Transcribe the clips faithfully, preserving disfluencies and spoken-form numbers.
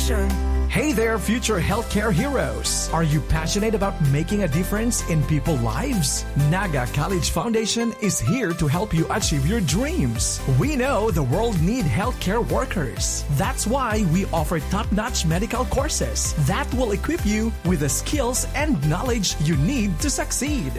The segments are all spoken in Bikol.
Hey there, future healthcare heroes! Are you passionate about making a difference in people's lives? Naga College Foundation is here to help you achieve your dreams. We know the world need healthcare workers. That's why we offer top-notch medical courses that will equip you with the skills and knowledge you need to succeed.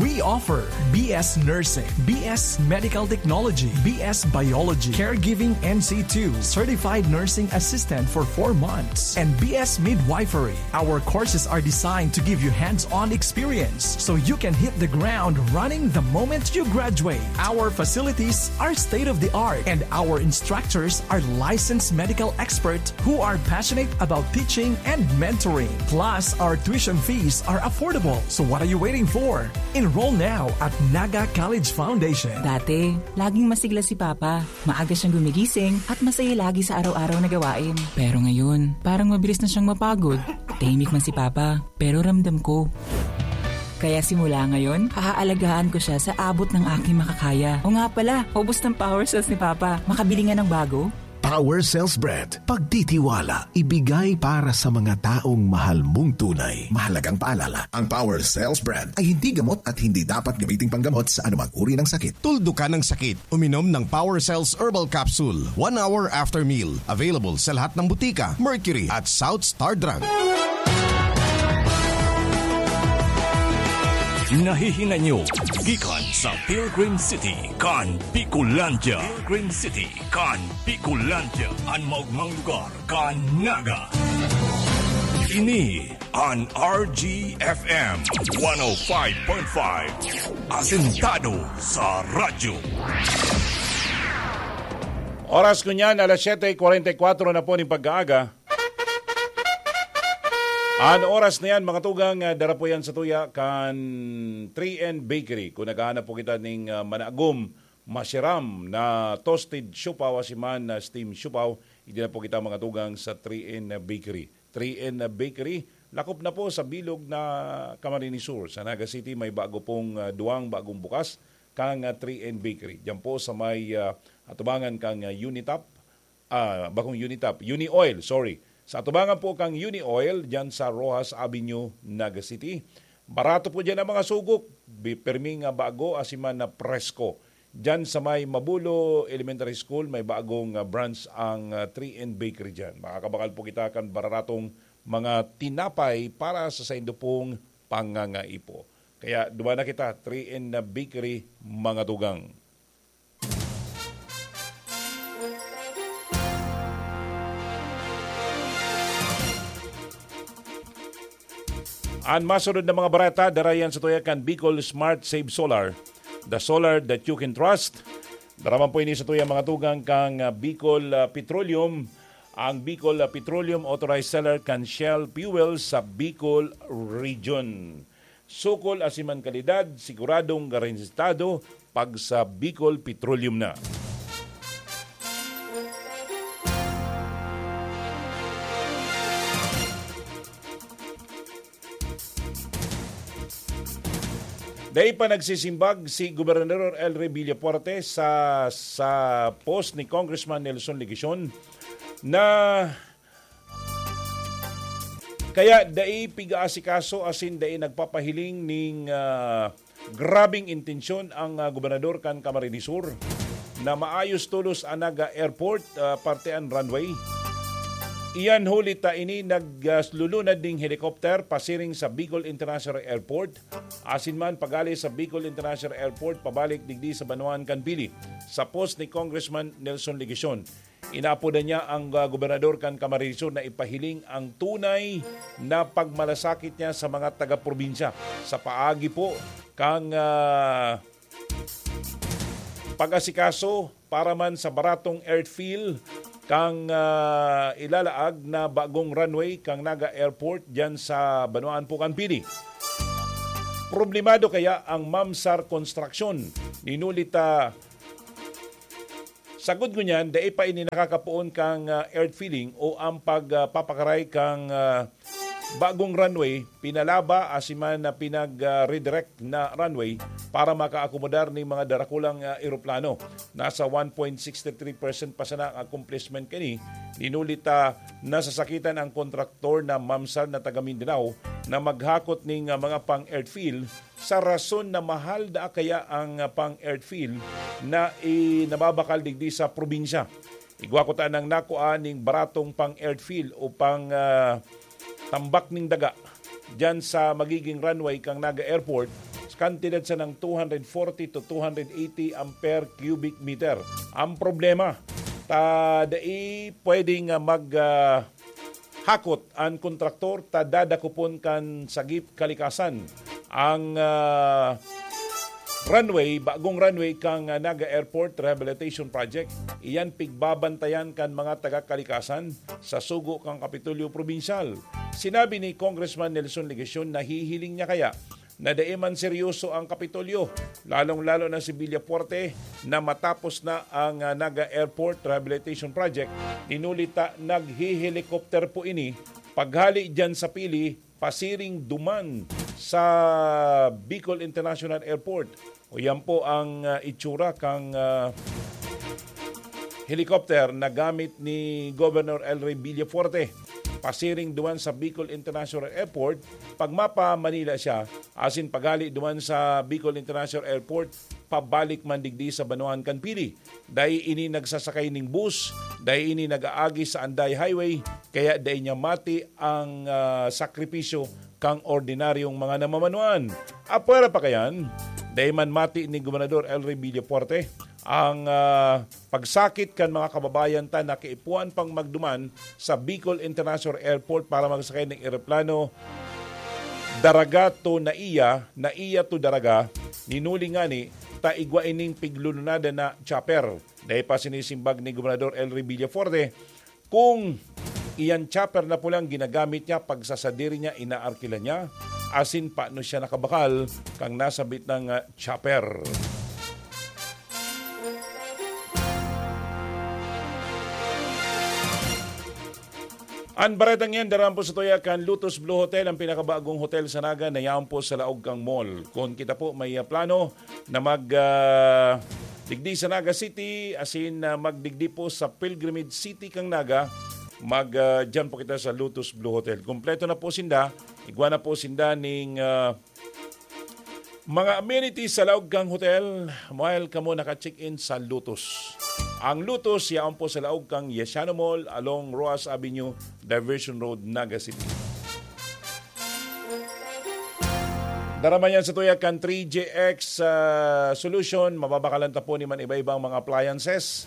We offer B S Nursing, B S Medical Technology, B S Biology, Caregiving N C two, Certified Nursing Assistant for four months, and B S Midwifery. Our courses are designed to give you hands-on experience so you can hit the ground running the moment you graduate. Our facilities are state-of-the-art, and our instructors are licensed medical experts who are passionate about teaching and mentoring. Plus, our tuition fees are affordable. So what are you waiting for? Enroll now at Naga College Foundation. Dati, laging masigla si Papa. Maaga siyang gumigising at masaya lagi sa araw-araw na gawain. Pero ngayon, parang mabilis na siyang mapagod. Tahimik man si Papa, pero ramdam ko. Kaya simula ngayon, aalagaan ko siya sa abot ng aking makakaya. O nga pala, ubos ng power cells ni Papa. Makabili nga ng bago? Power Cells Brand. Pagtitiwala, ibigay para sa mga taong mahal mong tunay. Mahalagang paalala, ang Power Cells Brand ay hindi gamot at hindi dapat gamiting panggamot sa anumang uri ng sakit. Tuldukan ang sakit. Uminom ng Power Cells Herbal Capsule one hour after meal. Available sa lahat ng butika, Mercury at South Star Drug. Nahihinay nyo gikan sa Pilgrim City kan Bicolandia. Pilgrim City kan Bicolandia, an maogmang lugar kan Naga. Ini an R G F M one oh five point five, asentado sa radyo. Oras ngunyan, alas siyete kwarenta y kwatro na po nin pag-aaga. An oras na yan, mga tugang, ah, dara po yan sa tuya kan three N Bakery. Kung naghahanap po kita ning, ah, managom, masiram na toasted siopaw, asin man na steam siopaw, iti na po kita, mga tugang, sa three N Bakery. Three N Bakery, lakop na po sa bilog na Camarines Sur. Sa Naga City, may bago pong, ah, duwang bagong bukas kang, ah, three N Bakery. Diyan po sa may, ah, atubangan kang, ah, Unitop, ah, bakong Unitop, Uni Oil, sorry. Sa atubangan po kang Uni Oil, diyan sa Roxas Avenue, Naga City. Barato po diyan ang mga sugok, bi-, pirming, ah, bago, asin man na presko. Diyan sa may Mabulo Elementary School, may bagong, ah, branch ang, ah, three N Bakery diyan. Makakabakal po kita kan baratong mga tinapay para sa saindo pong pangangaipo. Kaya duman na kita, three N Bakery, mga tugang. An masunod na mga bareta, dara yan sa tuya kan Bicol Smart Save Solar, the solar that you can trust. Dara man po ini sa tuya, mga tugang, kang, ah, Bicol, ah, Petroleum. Ang Bicol, ah, Petroleum, authorized seller kan Shell Fuel sa Bicol Region. Sukol asin man kalidad, siguradong garantistado pag sa Bicol Petroleum na. Dai pa nagsisimbag si Gobernador Elry Villafuerte sa, sa post ni Congressman Nelson Legacion na kaya dai pigaasikaso asin dai nagpapahiling ning, ah, grabeng intensyon ang, ah, gobernador kan Camarines Sur na maayos tolos an Naga Airport, ah, parte an runway. Iyan huli ta ini naglulunad ning helicopter pasiring sa Bicol International Airport, asin man pagali sa Bicol International Airport pabalik digdi sa banwaan kan Pili. Sa post ni Congressman Nelson Legacion, inaapodan niya ang, ah, gobernador kan Camarines Sur na ipahiling ang tunay na pagmalasakit niya sa mga taga-probinsya sa paagi po kang, ah, pag-asikaso para man sa baratong airfield kang, ah, ilalaag na bagong runway kang Naga Airport diyan sa banwaan po kan Pili. Problemado kaya ang Mamsar Construction? Ninuli ta sagod ngunyan, dai pa ini nakakapoon kang, ah, airfield o ang pag, ah, papakaray kang, ah, bagong runway, pinalaba asin man na pinag-redirect na runway para makaakomodar ning mga darakulang, ah, eroplano. Nasa one point six three percent pa sana ang accomplishment kani. Dinuli ta nasasakitan ang kontraktor na mamsal na taga Mindanao na maghakot ning, ah, mga pang-airfield sa rason na mahal daa kaya ang, ah, pang-airfield na i-, nababakal digdi sa probinsya. Igwa ko tanang nakua ning baratong pang-airfield o pang, ah, tambak ning daga diyan sa magiging runway kang Naga Airport sa kantidad sanang two hundred forty to two hundred eighty ampere cubic meter. Ang problema, ta dai pwedeng, ah, mag, ah, hakot an kontraktor ta dadakopon kan sagip kalikasan ang, ah, runway, bagong runway kang, ah, Naga Airport Rehabilitation Project. Iyan pigbabantayan kan mga taga-kalikasan sa sugo kan Kapitolyo Probinsyal. Sinabi ni Congressman Nelson Legacion na hihiling niya kaya na dai man seryoso ang Kapitolyo, lalong-lalo na si Villafuerte, na matapos na ang, ah, Naga Airport Rehabilitation Project. Dinuli ta naghihelikopter po ini paghali diyan sa Pili, pasiring duman sa Bicol International Airport. O yan po ang, ah, itsura kang, ah, helicopter na gamit ni Governor El Rey Villafuerte. Pasiring duman sa Bicol International Airport, pag mapa Manila siya, asin paghali duman sa Bicol International Airport, pabalik man digdi sa banwaan kan Pili. Dai ini nagsasakay ning bus, dai ini nag-aagi sa Anday Highway, kaya dai niya mati ang, ah, sakripisyo kang ordinaryong mga namamanuan. Apwera pa kayan, dai man mati ni Gobernador El Rey Villafuerte ang, ah, pagsakit kan mga kababayan ta na kaipuhan pang magduman sa Bicol International Airport para magsakay ning eroplano. Daraga to naiya, naiya to Daraga, ninuli ngani ta igwa ining piglulunadan na chopper. Dai pa sinisimbag ni Gobernador El Rey Villafuerte kung iyan chopper na pulang ginagamit niya, pagsasadiri niya, inaarkila niya, asin paano siya nakabakal kang nasabit ng, ah, chopper. An baretang yan, dara man po sa tuya kan Lotus Blue Hotel, ang pinakabagong hotel sa Naga na yaon po sa laog kang mall. Kung kita po may, ah, plano na mag, ah, digdi sa Naga City, asin, ah, magdigdi po sa Pilgrimage City kang Naga, mag, ah, diyan po kita sa Lotus Blue Hotel. Kompleto na po sinda, igwa na po sinda ning, ah, mga amenities sa laog kang hotel, while kamo naka-check-in sa Lotus. Ang Lotus, yaon po sa laog kang Yesiano Mall, along Roxas Avenue, Diversion Road, Naga City. Dara man yan sa tuya kan three G X, ah, Solution, mababakalan ta po ni man iba-ibang mga appliances.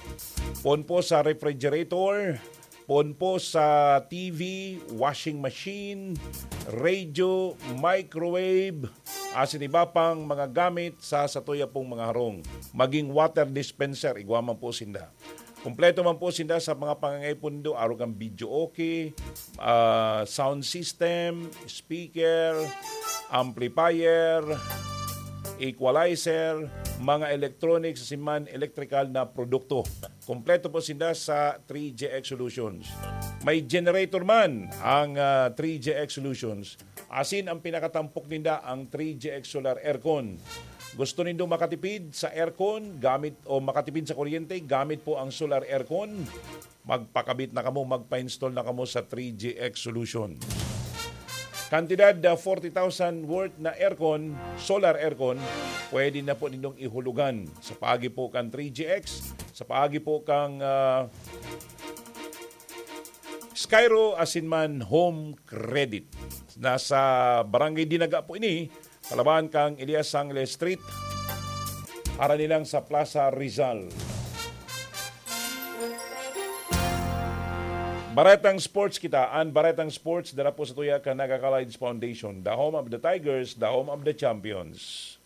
Poon po sa refrigerator, poon po sa T V, washing machine, radio, microwave, asin iba pang mga gamit sa satuya pong mga harong. Maging water dispenser, igwa man po sinda. Kompleto man po sinda sa mga pangangaipo nindo, arog kan video okay, ah, sound system, speaker, amplifier, equalizer, mga electronics, asin man electrical na produkto. Kompleto po sinda sa three G X Solutions. May generator man ang, ah, three G X Solutions. Asin ang pinakatampok ninda ang three G X Solar Aircon. Gusto nindo makatipid sa aircon gamit o makatipid sa kuryente gamit po ang solar aircon? Magpakabit na kamo, magpa-install na kamo sa three G X Solution. Kantidad na forty thousand worth na aircon, solar aircon, pwede na po nindong ihulugan sa paagi po kan three G X, sa paagi po kang, ah, Skyro asin man Home Credit. Nasa Barangay Dinaga po ini, kalaban kang Elias Sangre Street, harani lang sa Plaza Rizal. Baretang Sports kita. An Baretang Sports, dara po sa tuya kan Naga Colleagues Foundation, the home of the Tigers, the home of the champions.